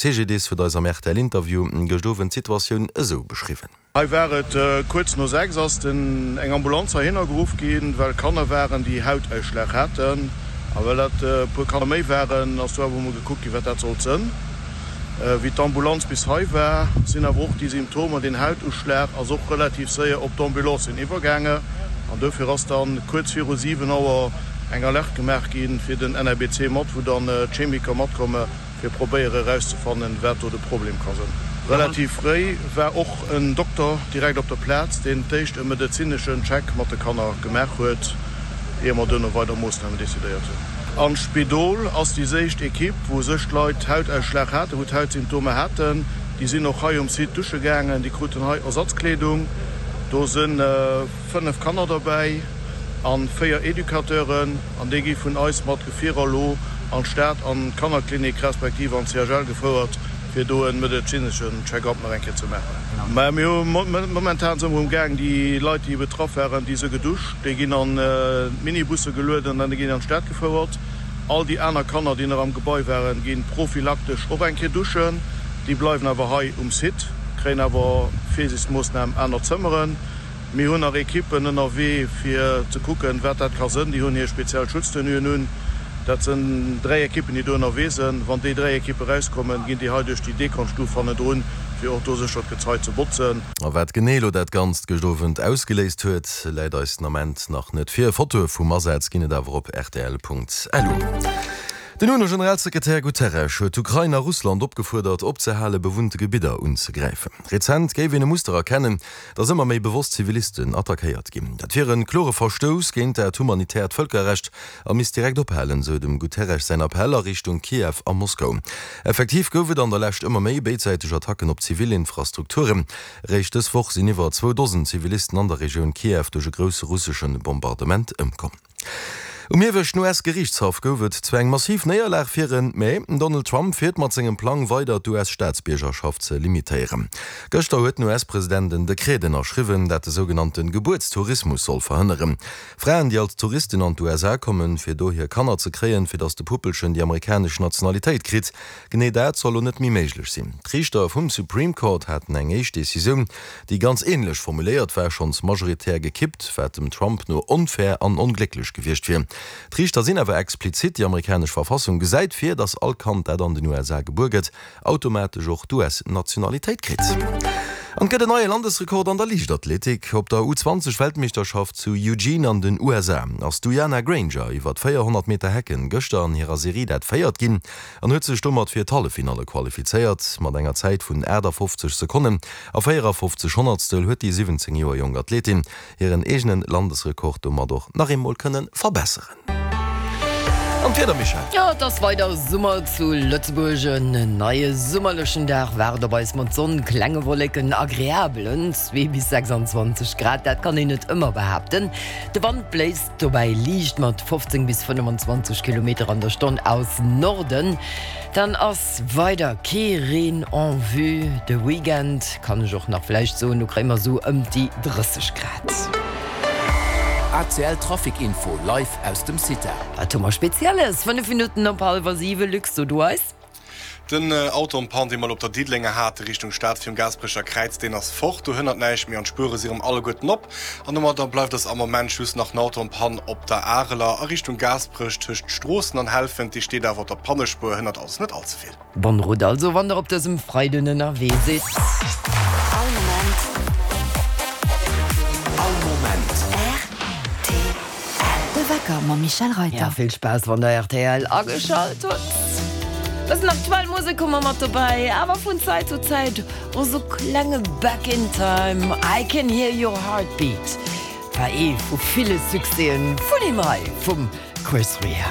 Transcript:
CGDIS huet eis am RTL-Interview gëscht Owend d'Situatioun esou beschriwwen. Hei war et kuerz no 6 ass den eng Ambulanz heihinner geruff ginn, well Kanner waren déi Hautausschlag haten. A well dat e puer Kanner méi waren, ass do awer emol gekuckt ginn, wat dat sollt sënn. Wéi d'Ambulanz bis hei war, sinn awer och déi Symptomer, den Hautuschlag ass och relativ séier op d'Ambulancien iwwergaange an dofir ass dann kuerz viru 7 Auer eng Alerte gemaach ginn fir den NRBC mat, wou dann d'Chemiker matkomme fir probéiere erauszefannen, wat do de Problem ka sënn. Relativ fréi war och en Dokter direkt op der Plaz, deen d'éischt e medezineschen Check mat de Kanner gemaach huet, ier mer duerno weider Moossnamen decidéiert hunn. An d'Spidol ass déi séicht Ekipp, wou sech d'Leit Hautausschlag haten, wou d'Hautsymptomer haten. Déi sinn och hei um Site dusche gaangen, déi kruten hei Ersatzkleedung. Do si 5 Kanner derbäi a 4 Educateuren. An déi gi vun eis mat Gefierer elo an d'Stad an d'Kannerklinik respektiv an d'CHL gefouert, fir do e medezineschen Check-up nach eng Kéier ze maachen. Mä mir hu momentan si mer um Gaang, déi Leit, déi betraff waren, déi si geduscht, déi ginn an d'Minibusse gelueden an déi ginn an d'Stad gefouert. All déi aner Kanner, déi nach am Gebai waren, gi prophylaktesch och eng Kéier duschen. Déi bleiwen awer hei um Site, kréien awer Virsiichtsmoossnam aner Zëmmeren. Mir hunn nach Ekippen ënnerwee fir ze kucken, wat dat ka sënn. Déi hunn hir speziell Schutztenuen un. Dat sënn 3 Ekippen, déi do ënnerwee sënn. Wann déi 3 Ekippe erauskommen, ginn déi hei duerch déi Dekonstuf hannendrun, fir och do sécher d'Gezei ze botzen. A wat genee elo dat Ganzt gëscht Owend ausgeléist huet, läit eis den Ament nach net vir. Fotoe vum Asaz ginn et awer op rtl.lu. Den UNO-Generalsekretär Guterres huet d'Ukrain a Russland opgefuerdert, opzehale bewunnte Gebidder unzegräifen. Rezent géif een e Muster erkennen, datt ëmmer méi bewosst Zivilisten attackéiert ginn. Dat wier e klore Verstouss géint dat humanitäert Vëlkerrecht a misst direkt ophalen, sou dem Guterres säin Appell a Richtung Kiew a Moskau. Effektiv gouf et an der Lescht ëmmer méi béidsäiteg Attacken op zivil Infrastrukturen. Eréischt dës Woch sinn iwwer zwou Dosen Zivilisten an der Regioun Kiew duerch e grousse russesche Bombardement ëmkomm. Um ieweschten US-Geriichtshaff gouf et zwar eng massiv Néierlag fir en, mä den Donald Trump fiert mat sengem Plang weider d'US-Staatsbiergerschaft ze limitéieren. Gëschter huet den US-President en Dekret ënnerschriwwen, dat de sougenannte Gebuertstourismus soll verhënneren. Fraen, déi als Touristen an d'USA kommen, fir do hir Kanner ze kréien, fir datt de Puppelchen déi amerikanesch Nationalitéit kritt. Genee dat soll lo net méi méiglech sinn. D'Riichter vum Supreme Court haten eng éischt Decisioun, déi ganz änlech formuléiert war, schonns majoritär gekippt, wat dem Trump no onfair an onglécklech gewiescht wier. D'Riichter sinn awer explizit, déi amerikanesch Verfassung gesäit vir, datt all Kand, dat an den USA gebuer gëtt, automatesch och d'US-Nationalitéit kritt. An et gëtt en neie Landesrekord an der Liichtathletik. Op der U20 Weltmeeschterschaft zu Eugene an den USA ass d'Uyana Granger iwwer 400 Meter Hecken gëschter an hirer Serie dat Véiert ginn an huet sech domat fir d'Halleffinalle qualifizéiert. Mat enger Zäit vun 58 Sekonnen a 54 Honnertstel huet déi 17 Joer jonk Athletin hiren eegene Landesrekord domat och nach eemol kënne verbesseren. An d'Wieder, Michèle? Jo, et ass weider Summer zu Lëtzebuerg. En neie summerlechen Dag waart op eis mat Sonn, klenge Wolleken, agreabelen 2 bis 26 Grad. Dat kann een net ëmmer behaapten. De Wand bléist dobäi liicht mat 15 bis 25 Kilometer an der Stonn aus Norden. Dann ass Weider kee Reen en vue. De Weekend kann ech och nach vläicht soen, do kréie mer sou ëm déi 30 Grad. ACL Trafic Info live aus dem CITA. Wat hu mer Spezielles? 5 Minutten op hallwer 7, Luc, so du eis. Den Auto en panne, dee mer elo op der Diddelenger hate Richtung Stad virum Gaasperecher Kräiz, deen ass fort. Do hënnert näischt méi an d'Spuere si rëm alleguerten op. An domadder bleift eis am Moment just nach den Auto en panne op der Areler a Richtung Gaasperech tëscht Stroossen an Helfent. Dee steet awer op der Pannespuer, hënnert also net all ze vill. Bonne route also, wann der op dësem Freiden ënnerwee sidd. All Moment. All Moment. Rtl. De Wecker mam Michèle Reyter. Ja, vill Spaass wann der rtl ageschalt hutt. Bëssen aktuell Musek hu mer mat dobäi, awer vun Zäit zu Zäit och sou klenge Back in Time. I Can Hear Your Heartbeat war ee vu ville Succèsen vun him hei, vum Chris Rea.